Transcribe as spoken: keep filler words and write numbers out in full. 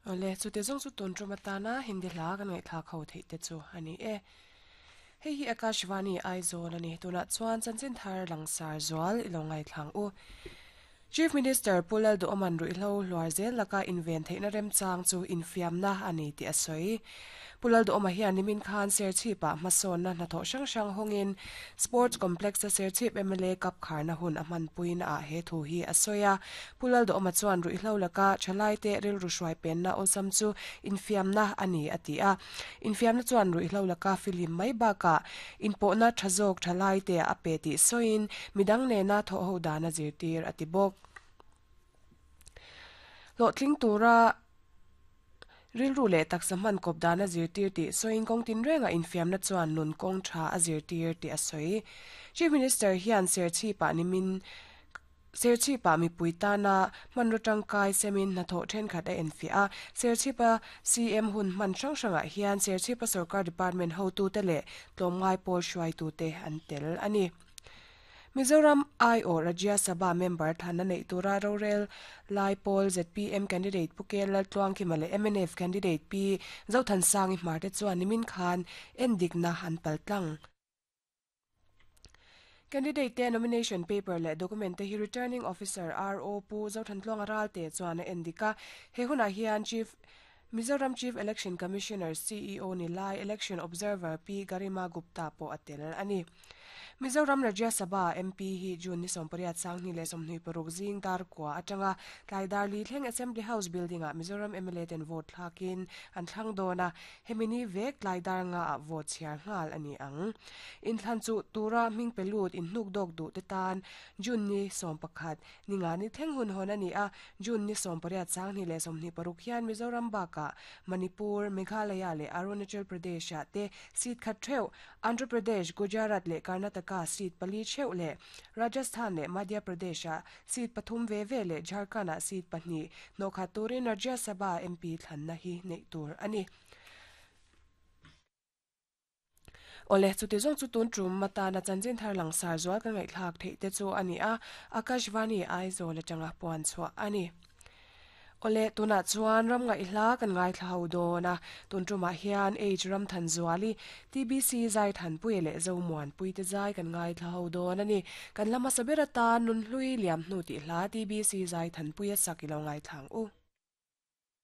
Ole chu te zong chu tun tuma tana hindi hla kan ngai thla kho thei te chu ani e. Hei hi Akashvani Aizawl ani tuna chuan chanchin thar langsar zual ilongai thlang u. Chief Minister Pulal do oman ruihlo hluar zel laka inven theihna remchang chu infiamna ani ti a sawi. Pulal do oma hian nimin khan Serchhip ah hmasawnna hnathawh hrang hrang hawngin Sports Complex a Serchhip M L A Cup kharna hun a hmanpuina ah he thu hi a sawi a. Pulal do oma chuan ruihlo laka thalai te rilru hruai penna awlsam chu infiamna ani a ti a. Infiamna chuan ruihlo laka filim mai bakah inpawhna tha zawk thalai te a pe tih sawiin midang nena thawh ho dana zirtir a ti bawk. Hlawhtling tura rilru leh taksa hman kawp dana zirtir tih sawiin kawng tin renga infiamna chuan nun kawng tha a zirtir tih a sawi. Chief Minister hian Serchhip ah nimin Serchhip ah mipui tana hmanraw tangkai semin hnathawh thenkhat a enfiah a. Serchhip a C M hun hman hrang hrangah hian Serchhip a sarkar department hotu te leh tlawmngai pawl hruaitu te an tel ani. Mizoram I O Rajya Sabha member thana nei tura rorel lai pawl Z P M candidate Pukel Laltluang Kima leh M N F candidate P Zothan Sangi Hmarte chuan nimin khan endikna an paltlang. Candidate te nomination paper leh document te hi returning officer R O Pu Zothan Tluang Ral te chuan a endika. He hunah hian Chief Mizoram Chief Election Commissioner C E O ni lai Election Observer P Garima Gupta po atel ani. Mizoram Rajya Sabha M P hi June ni sawmpariat sangni leh sawmhnih paruk zing dar kwa atanga tlaidar li thleng Assembly House building ah Mizoram M L A ten vote thlakin an thlang dawna hemini vek tlaidar nga ah vote chhiar nghal ani ang. Inthlan chu tura hming pelut in hnuk dawk duh te tan June ni sawm pakhat ninga ni thleng hun hawn ani a. June ni sawmpariat sangni leh sawmhnih paruk hian Mizoram baka Manipur, Meghalaya leh Arunachal Pradesh ah te seat khat theuh Andhra Pradesh, Gujarat leh Karnataka seat pali theuh leh Rajasthan leh Madhya Pradesh ah seat pathum ve ve leh Jharkhand ah seat pahnih hnawhkhat turin Rajya Sabha M P thlanna hi nei tur ani. Ole chuti zawng chu tun tum matana chanchin thar langsar zual kan ngaihthlak theih te chu ani a. Akashvani Aizawl atanga puan chhuah ani. Ole tuna chuan ram ngai hla kan ngai thla ho dawna tun tumah hian H Ramthan Zuali T B C zai than pui leh Zomuan pui te zai kan ngai thla ho dawn ani. Kan lama sabera ta nun hlui liam hnu ti hla T B C zai than pui a sak ilo ngai thlang u.